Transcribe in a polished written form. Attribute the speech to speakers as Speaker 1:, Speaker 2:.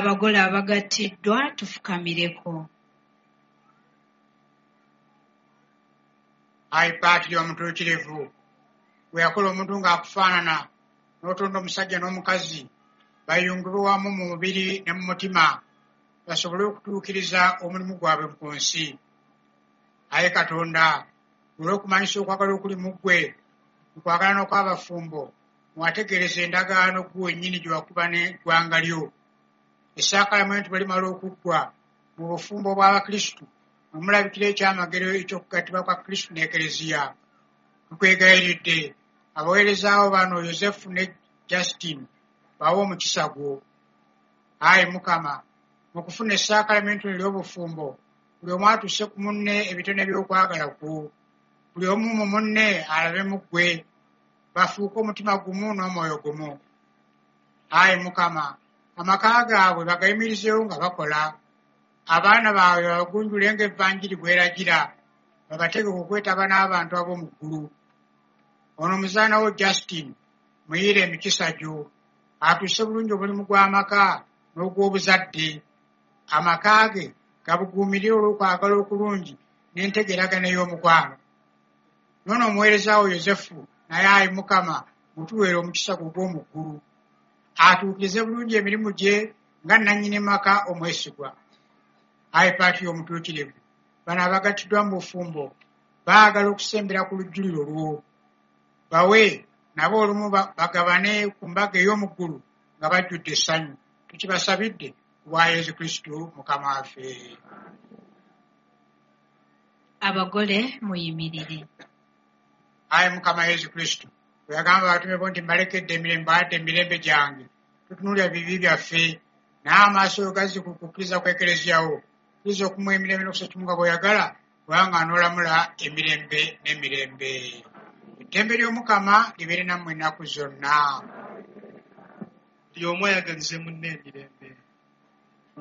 Speaker 1: Abagole abagattiddwa tufukamireko.
Speaker 2: Ayi Paatiri omutuukirivu, bwe yakola omuntu ng'akufaanana, n'otonda omusajja n'omukazi bayungibwe wamu mu mubiri ne mu mutima, basobole okutuukiriza omulimu gwabwe ku nsi. Ayi Katonda, olw'okumanyisa okwagala okuli mu ggwe, mu kwagalana kw'abafumbo, mwategeereza endagaano ggwe wennyini gye wakuba n'eggwanga lyo. Essaakalamentu bwe limala okuggwa mu bufumbo bw'Abakristu, mwe mulabikira ekyamagero eky'okugattibwa kwa Kristu n'Ekereziya. Tukwegayiridde, abaweerezaawo bano Yozefu ne Justine bawe omukisa gwo. Ayi Mukama, mu kufuna essaakalamentu ery'obufumbo, buli omu atuuse ku munne ebitone by'okwagala kwo. Buli omu mu munne alabe mu ggwe, bafuuke omutima gumu n'omwoyo gumu. Ayi Mukama, amaka gaabwe bagayimirizeewo nga bakola. Abaana baabwe babagunjule ng'Evanjiri bw'eragira, babategeke okwetaba n'abantu ab'omu ggulu. Ono omuzaana wo Justine, muyiire emikisa gyo, atuuse bulungi omulimu gw'amaka n'ogw'obuzadde. Amaka ge gabuguumirire olw'okwagala okulungi n'entegeeragana ey'omukwano. N'ono omuweereza wo Yozefu naye ayi Mukama, mutuweere omukisa gwo ogw'omu ggulu. Atuukirize bulungi emirimu gye nga nnannyini maka omwesigwa. Ayi Paatiri omutuukirivu, bano abagattiddwa mu bufumbo baagala okusembera ku lujjuliro lwo. Bawe nabo olumu bagabane ku mbaga ey'omu ggulu nga bajjudde essanyu. Tukibasabidde ku bwa Yesu Kristu Mukama waffe.
Speaker 1: Abagole muyimirire.
Speaker 2: Ayi Mukama Yesu Kristu, bwe yagamba abatume bo nti mbalekedde emirembe, mbawadde emirembe gyange, tutunuulira bibi byaffe, naye amaaso go gazze ku kukkiriza kw'Ekereziya wo. Kkiriza okumuwa emirembe n'okussa ekimu nga bw'oyagala, kubanga anoolamula emirembe n'emirembe. Eddembe ly'Omukama libeere nammwe ennaku zonna.
Speaker 3: Buli omu ayagalize munne emirembe.